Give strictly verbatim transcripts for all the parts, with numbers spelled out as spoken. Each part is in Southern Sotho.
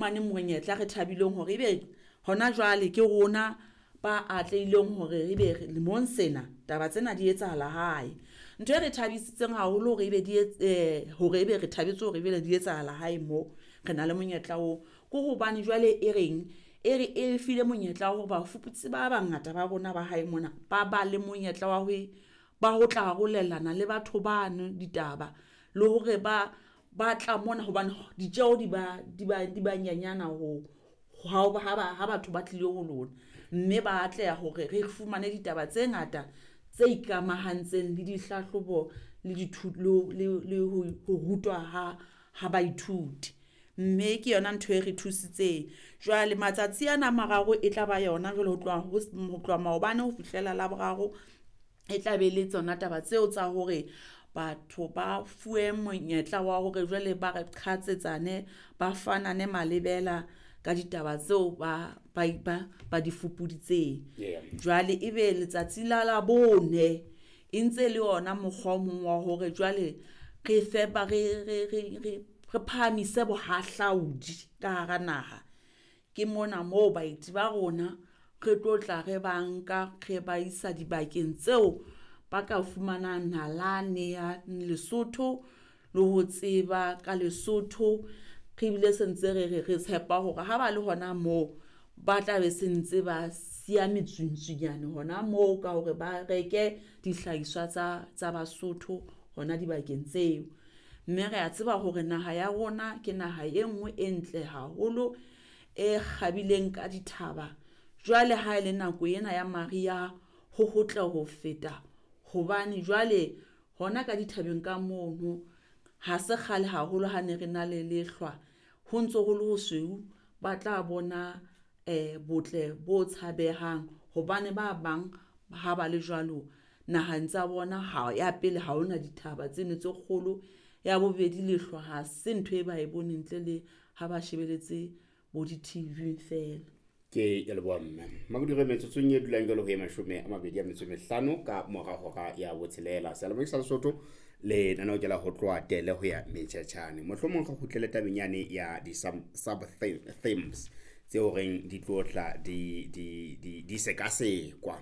Fumane monyetla re thabileng hore ebe hona jwale ke rona ba atlehileng hore ebe lemong sena taba tsena di etsahala hae. Ntho e re thabisitseng haholo hore ebe di eh hore ebe re thabetse hore ebe di etsahala hae mo re na le monyetla oo, ke hobane jwale e reng e re e file monyetla wa hore bafuputsi ba bangata ba rona ba hae mona, ba ba le monyetla wa ho ba ho tla arolelana le batho bano ditaba le hore ba ba tla mona hobane ditjeho di ba di ba di ba nyenyana ho ha ba ha batho ba tlile ho lona, mme ba atleha hore re fumane ditaba tse ngata tse ikamahantseng le dihlahlobo le le le ho ho rutwa ha ha baithuti. Mme ke yona ntho e re thusitseng. Jwale matsatsi ana a mararo e tla ba yona jwale ho tloha ho ho tloha maobane ho fihlela Laboraro, e tla be le tsona taba tseo tsa hore batho ba fuwe monyetla wa hore jwale ba re qhatsetsane, ba fanane malebela ka ditaba tseo ba ba ba ba di fupuditseng. Jwale ebe letsatsi la Labone e ntse le ona mokgwa o mong wa hore jwale re fe ba re re re re re phahamise bohahlaudi ka hara naha. Ke mona moo baeti ba rona re tlo tla re ba nka re ba isa dibakeng tseo ba ka fumanang nalane ya Lesotho le ho tseba ka Lesotho. Re bile se ntse re re re tshepa hore ha ba le hona moo, ba tla be se ntse ba siya metswintswinyane hona moo ka hore ba reke dihlahiswa tsa tsa Basotho hona dibakeng tseo. Mme re a tseba hore naha ya rona ke naha e nngwe e ntle haholo, e kgabileng ka dithaba. Jwale ha ele nako ena ya mariha, ho hotle ho feta hobane jwale hona ka dithabeng ka mono, ha se kgale haholo ha ne re na le lehlwa, ho ntso ho le ho sweu, ba tla bona botle bo tshabehang hobane ba bang ha ba le jwalo naheng tsa bona, ha ya pele ha hona dithaba tseno tse kgolo. Ya bobedi, lehlwa ha se ntho e ba e boneng ntle le ha ba shebeletse bo di-T V feela. Ke ya leboha mme. Makodire metsotsong e dulang jwalo ho e mashome a mabedi a metso e mehlano ka mora hora ya botshelela. Seyalemoya sa Lesotho lenaneo ke la ho tloha tele ho ya metjhetjhane. Mohlomong re kgutlele tabeng yane ya di sub sub themes tseo reng di tlo tla di di di di sekasekwa.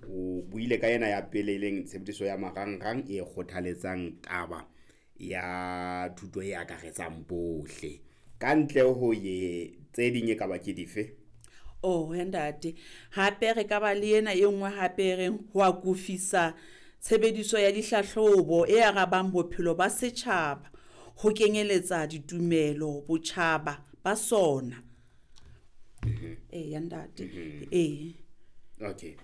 O buile ka ena ya pele e leng tshebediso ya marangrang e kgothaletsang taba ya thuto e akaretsang bohle. Ka ntle ho ye tse ding e ka ba ke dife? Oh he ntate, hape re ka ba le ena e nngwe hape e reng ho akofisa tshebediso ya dihlahlobo e arabang bophelo ba setjhaba, ho kenyeletsa ditumelo, botjhaba ba sona. Eya ntate, ee. Okay.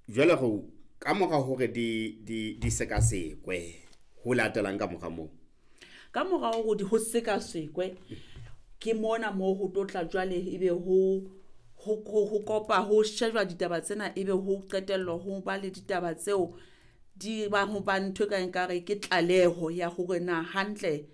Jwale go ka mora hore di di di sekasekwe ho latelang ka mora moo? Ka mora hore di ho sekasekwe, ke mona moo ho tlo tla jwale ebe ho ho ho kopa ho shejwa ditaba tsena, ebe ho qetellwa ho ba le ditaba tseo di bang ho ba ntho e kang ekare ke tlaleho ya hore na hantle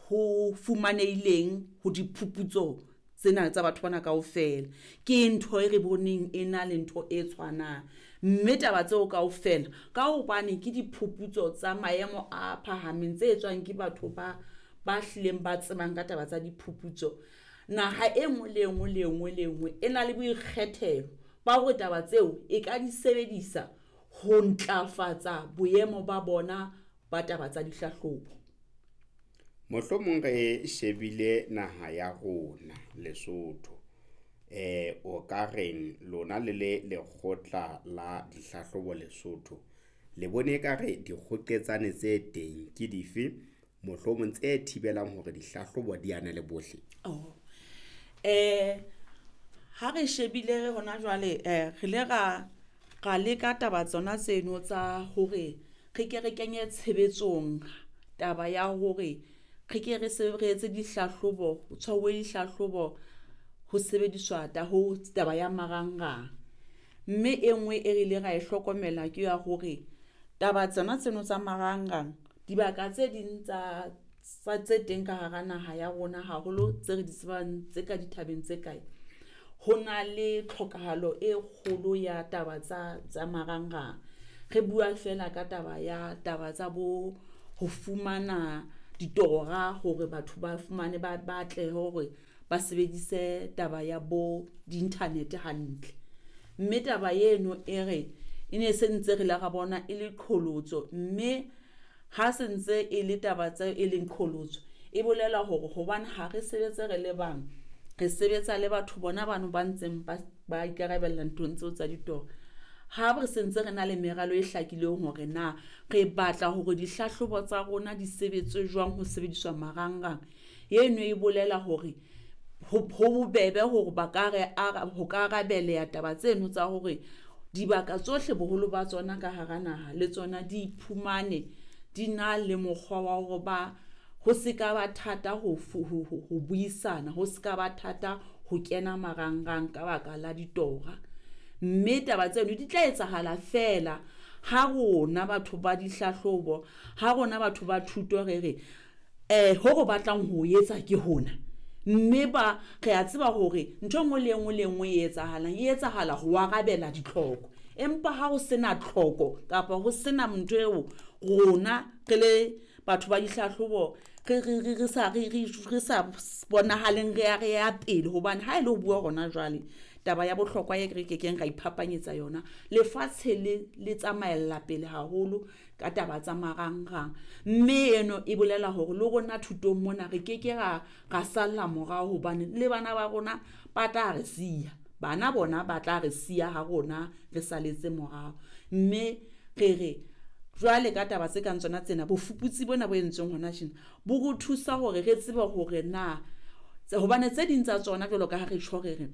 ho fumanehileng ho diphuputso tsena tsa batho bana kaofela. Ke ntho e re boneng e na le ntho e tshwanang, mme taba tseo kaofela ka hobane ke diphuputso tsa maemo a phahameng tse etswang ke batho ba ba hlileng ba tsebang ka taba tsa diphuputso. Naha e nngwe le e nngwe le e nngwe le e nngwe e na le boikgethelo ba hore taba tseo e ka di sebedisa ho ntlafatsa boemo ba bona ba taba tsa dihlahlobo. Mohlomong re shebile naha ya rona Lesotho. Eh o ka reng lona le le lekgotla la dihlahlobo Lesotho, le bone ekare dikgoketsane tse teng ke dife mohlomong tse thibelang hore dihlahlobo di ane le bohle? Oh. Eh ha re shebile hona jwale eh re le ra ra leka taba tsona tseno tsa hore re ke re kenye tshebetsong taba ya hore re ke re se re etse dihlahlobo, ho tshwauwe dihlahlobo ho sebediswa ta ho taba ya marangrang. Mme e nngwe e re ile ra e hlokomela ke ya hore taba tsona tseno tsa marangrang, dibaka tse ding tsa tsa tse teng ka hara naha ya rona haholo tse re di tsebang tse ka dithabeng tse kae, ho na le tlhokahalo e kgolo ya taba tsa tsa marangrang. Re bua feela ka taba ya taba tsa bo ho fumana ditora hore batho ba fumane ba batle hore ba sebedise taba ya bo di-internet hantle. Mme taba eno e re e ne se ntse re la ra bona e le qholotso, mme ha se ntse e le taba tse e leng qholotso e bolela hore hobane ha re sebetse re le bang, re sebetsa le batho bona bano ba ntseng ba ba ikarabella nthong tseo tsa ditora. Ha re sentse re na le meralo e hlakileng hore na re batla hore dihlahlobo tsa rona di sebetse jwang ho sebediswa marangrang, eno e bolela hore ho bobebe hore ba ka re ho ka arabeleha taba tseno tsa hore dibaka tsohle boholo ba tsona ka hara naha le tsona di iphumane di na le mokgwa wa hore ba ho se ka ba thata ho ho buisana, ho se ka ba thata ho kena marangrang ka baka la ditora. Mme taba tseno di tla etsahala feela ha rona batho ba dihlahlobo, ha rona batho ba thuto re re eh ho re batlang ho etsa ke hona. Mme ba re a tseba hore ntho e nngwe le e nngwe le e nngwe e etsahalang e etsahala ho arabela ditlhoko. Empa ha ho sena tlhoko kapa ho sena ntho eo rona re le batho ba dihlahlobo re re re re sa re re sa bonahaleng re ya re ya pele, hobane ha e le ho bua hona jwale taba ya bohlokwa e re kekeng ra iphapanyetsa yona, lefatshe le le tsamaella pele haholo ka taba tsa marangrang. Mme eno e bolela hore le rona thutong mona re keke ra ra salla morao, hobane le bana ba rona ba tla re siya, bana bona ba tla re siya ha rona re saletse morao. Mme re re jwale ka taba tse kang tsona tsena, bofuputsi bona bo entsweng hona tjena bo re thusa hore re tsebe hore na hobane tse ding tsa tsona jwalo ka ha re tjho re re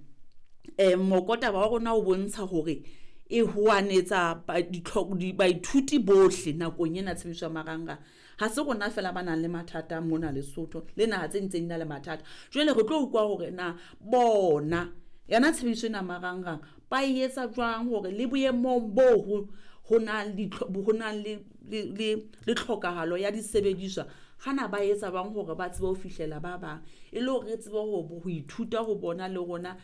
eh mokotaba wa rona o bontsha hore e hoanetsa baithuti bohle nakong ena tshebediso ya marangrang. Ha se rona fela ba nang le mathata mona Lesotho, le naha tse ding tse di na le mathata. Jwale re tlo utlwa hore na bona yona tshebediso ena marangrang ba e etsa jwang hore le boemong bo ho na le ho na le le tlhokahalo ya disebediswa, hana ba etsa jwang hore ba tsebe ho fihlela ba bang, e le hore re tsebe ho ho ithuta ho bona le rona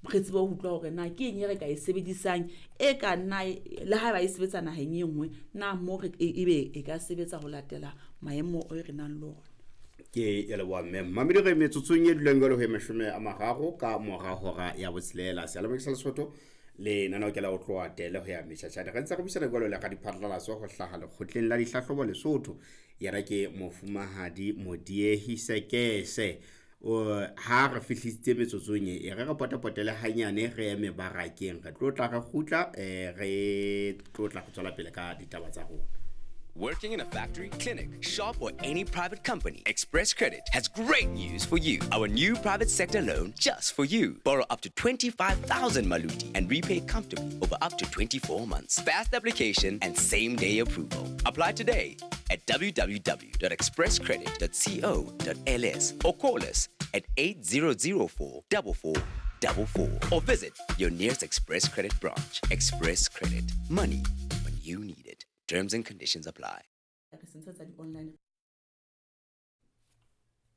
re tsebe ho utlwa hore na ke eng e re ka e sebedisang e ka nna le ha ba e sebetsa naheng e nngwe, na mo re ebe e ka sebetsa ho latela maemo e re nang le ona. Ke ya leboha mme mamedi re metsotsong e dulang jwalo ho e mashome a mararo ka mora hora ya botshelela. Seyalemoya sa Lesotho le lenaneo ke la ho tloha tele ho ya metjhatjhane. Re ntse re buisana jwalo le radiphatlalatso ho hlaha lekgotleng la dihlahlobo Lesotho, yena ke Mofumahadi Modiehi Sekese. Ha re fihlisitse metsotsong e re re potapotele hanyane re eme barakeng, re tlo tla re kgutla eh re tlo tla re tswela pele ka ditaba tsa rona. Working in a factory, clinic, shop, or any private company, Express Credit has great news for you. Our new private sector loan just for you. Borrow up to twenty-five thousand Maluti and repay comfortably over up to twenty-four months. Fast application and same-day approval. Apply today at w w w dot express credit dot co dot l s or call us at eight zero zero four four four four four or visit your nearest Express Credit branch. Express Credit. Money when you need it. Terms and conditions apply.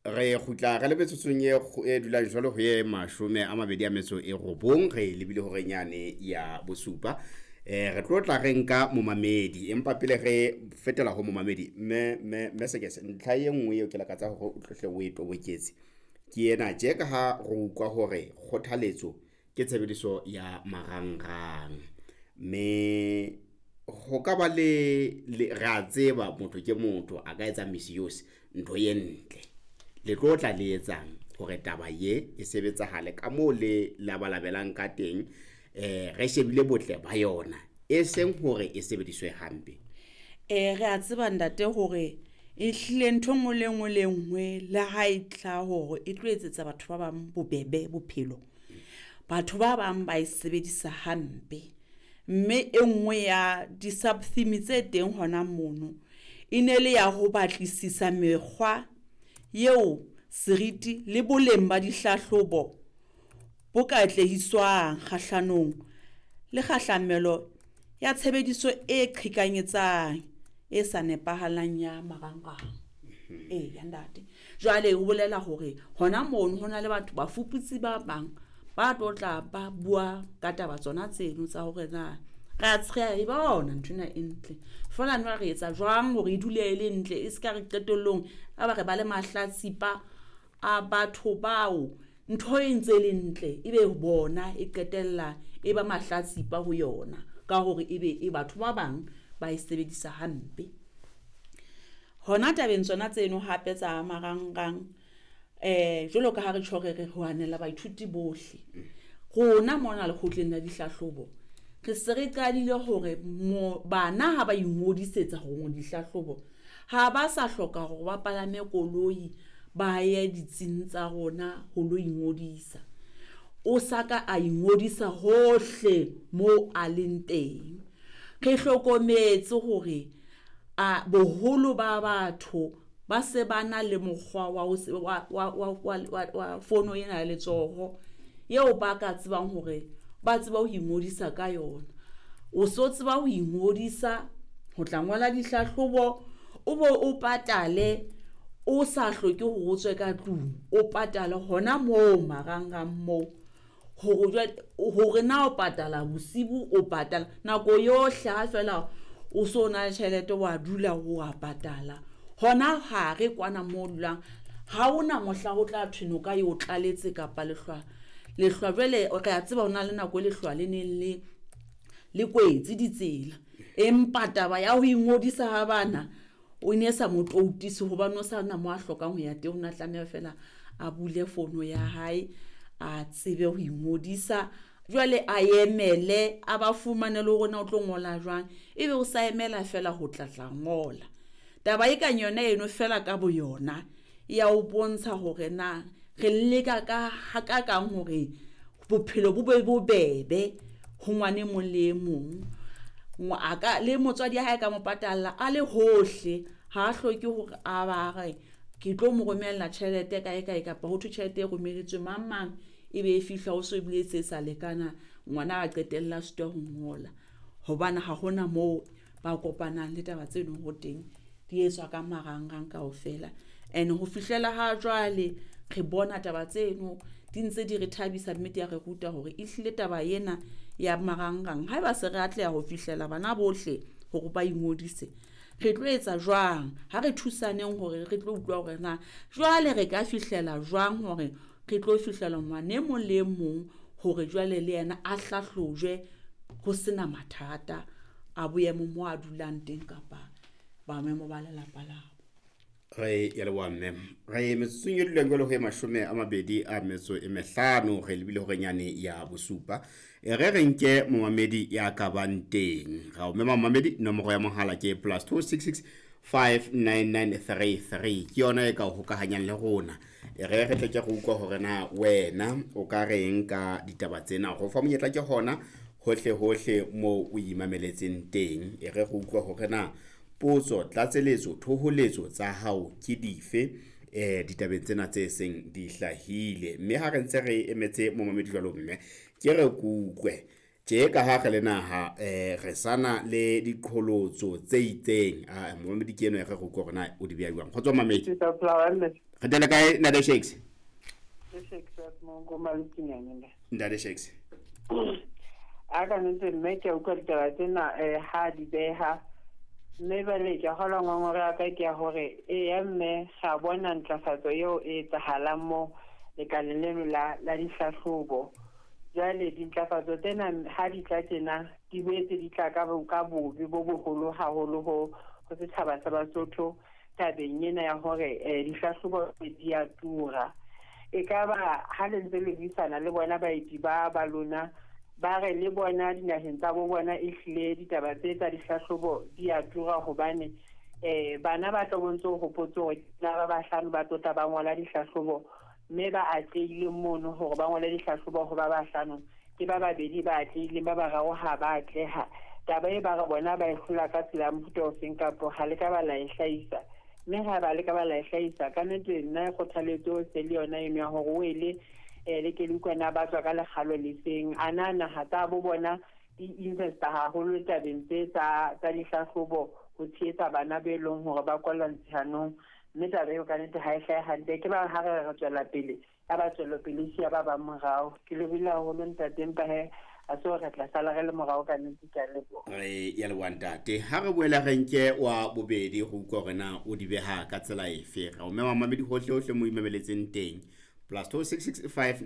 Re kgutla re le metsotsong e e dulang jwalo ho e mashome a mabedi a metso e robong, re lebile hore nyane ya bosupa. Eh re tlo tla re nka momamedi, empa pele re fetela ho momamedi mme mme mme Sekese, ntlha e nngwe eo ke lakatsa hore o tlohle o e toboketse ke ena tje ka ha re utlwa hore kgothaletso ke tshebediso ya marangrang, mme ho ka ba le re a tseba motho ke motho a ka etsa misuse ntho e ntle. Le tlo tla le etsang hore taba ye e sebetsahale ka moo le labalabelang ka teng, eh re shebile botle ba yona e seng hore e sebediswe hampe? Eh re a tseba ntate hore e hlile ntho nngwe le nngwe le nngwe le ha e tla hore e tlo etsetsa batho ba bang bobebe bophelo, batho ba bang ba e sebedisa hampe. Mme e nngwe ya di-sub-theme tse teng hona mono e ne le ya ho batlisisa mekgwa eo seriti le boleng ba dihlahlobo bo ka atlehiswang kgahlanong le kgahlamelo ya tshebediso e qhekanyetsang e sa nepahalang ya marangrang. Eh ya ntate, jwale o bolela hore hona mono ho na le batho bafuputsi ba bang ba tlo tla ba bua ka taba tsona tseno tsa hore na Re a tsheha e bona nthwena e ntle. Feela nwa re etsa jwang hore e dule e le ntle e ska re qetellong a ba re ba le mahlatsipa a batho bao ntho e ntse le ntle ebe bona e qetella e ba mahlatsipa ho yona ka hore ebe e batho ba bang ba e sebedisa hampe. Hona tabeng tsona tseno hape tsa marangrang eh jwalo ka ha re tjho re re hanela baithuti bohle. Rona mona lekgotleng la dihlahlobo re se re qadile hore bana ha ba ingodisetsa ho dihlahlobo ha ba sa hloka hore ba palame koloi ba ye ditsing tsa rona ho lo ingodisa. O sa ka a ingodisa hohle mo a leng teng. Re hlokometse hore a boholo ba batho ba se ba na le mokgwa wa wa wa wa wa fono ena ya letsoho eo ba ka tsebang hore ba tseba ho ingodisa ka yona. O so tseba ho ingodisa ho tla ngola dihlahlobo o bo o patale o sa hloke hore o tswe ka tlung, o patale hona moo marangrang moo. Hore jwale hore na o patala bosibu o patala nako yohle ha fela o so na le tjhelete wa dula o a patala. Hona hare kwana moo dulang ha hona mohla ho tla thwe noka e o tlaletse kapa lehlwa. Lehlwa jwale re a tseba hona le nako e lehlwa le neng le le kwetse ditsela. Empa taba ya ho ingodisa ha bana o ne sa mo toutise hobane o sa na mo a hlokang ho ya teng, o na tlameha fela a bule fono ya hae a tsebe ho ingodisa. Jwale a emele a ba fumane le hore na o tlo ngola jwang, ebe o sa emela fela ho tla tla ngola. Taba e kang yona eno fela ka boyona ya o bontsha hore na re leka ka ha ka kang hore bophelo bo be bobebe ho ngwane mong le e mong. A ka le motswadi ya hae ka mo patalla a le hohle, ha hloke hore a ba re ke tlo mo romella tjhelete kae kae kapa ho thwe tjhelete e romelletswe mang mang ebe e fihla ho so ebile se sa lekana ngwana a qetella sitwa ho ngola. Hobane ha hona moo ba kopanang le taba tseno ho teng di etswa ka marangrang kaofela. And ho fihlela ha jwale re bona taba tseno di ntse di re thabisa mme di a re ruta hore ehlile taba ena ya marangrang haeba se re atleha ho fihlela bana bohle hore ba ingodise, re tlo etsa jwang ha re thusaneng hore re tlo utlwa hore na jwale re ka fihlela jwang hore re tlo fihlela ngwana e mong le e mong hore jwale le yena a hlahlojwe ho sena mathata a boemo mo a dulang teng kapa boemo ba lelapa labo. Re ya leboha mme. Re metsotsong e dulang jwalo ho e mashome a mabedi a metso e mehlano re lebile hore nyane ya bosupa. E re re nke momamedi ya ka bang teng. Ra o mema momamedi nomoro ya mohala ke plus two six six five nine nine three three. Ke yona e ka o hokahanyang le rona. E re re tle ke re utlwa hore na wena o ka reng ka ditaba tsena. Ho fa monyetla ke hona hohle hohle moo o imameletseng teng. E re re utlwa hore na potso, tlatseletso, thoholetso tsa hao ke dife eh ditabeng tsena tse seng di hlahile. Mme ha re ntse re emetse momamedi jwalo mme ke re kutlwe tje ka ha re le naha eh re sana le diqholotso tse itseng. Ah momamedi ke eno e re re utlwe hore na o di beha jwang. Kgotso momamedi. Re tele kae Ntate Shakes? Ntate Shakes. A ka ntse mme ke utlwa ditaba tsena eh ha di beha mme bale ke kgolwa ngongora ya ka ke ya hore eya mme ga bona ntlafatso eo e etsahalang mo lekaleng leno la la dihlahlobo. Jwale dintlafatso tsena ha di tla tjena di boetse di tla ka ka bobe bo boholo haholo ho ho setjhaba sa Basotho tabeng ena ya hore dihlahlobo di a tura. E ka ba ha le ntse le buisana le bona baeti ba ba lona ba re le bona dinaheng tsa bo bona ehlile ditaba tse tsa dihlahlobo di a tura hobane eh bana ba tlo bontse ho hopotse hore ba bahlano ba tlo tla ba ngola dihlahlobo mme ba atlehile mono hore ba ngole dihlahlobo ho ba bahlano ke ba babedi ba atlehileng ba bararo ha ba atleha. Taba e ba re bona ba e hlola ka tsela ya mofuta ofeng kapo ha le ka ba la e hlahisa, mme ha ba le ka ba la e hlahisa ka nnete nna kgothaletso se le yona eno ya hore o ele le ke le utlwa ba tswa ka lekgalo le seng a na naha tsa bo bona di investa haholo tabeng tse tsa tsa dihlahlobo ho tshehetsa bana be leng hore ba kwalla ntshanong mme taba eo ka nnete ha e hlahe hantle ke ba ha re re tswela pele ya ba tswelopele siya ba bang morao. Ke lebohile haholo ntate empa he Ha se hore re tla sala re le morao ka nnete. Ke a leboha. Re ya leboha, ntate. Ha re boela re nke wa bobedi go utlwa hore na o di beha ka tsela efe. Re o mema mamedi hohle hohle mo imameletseng teng, plus two six six five.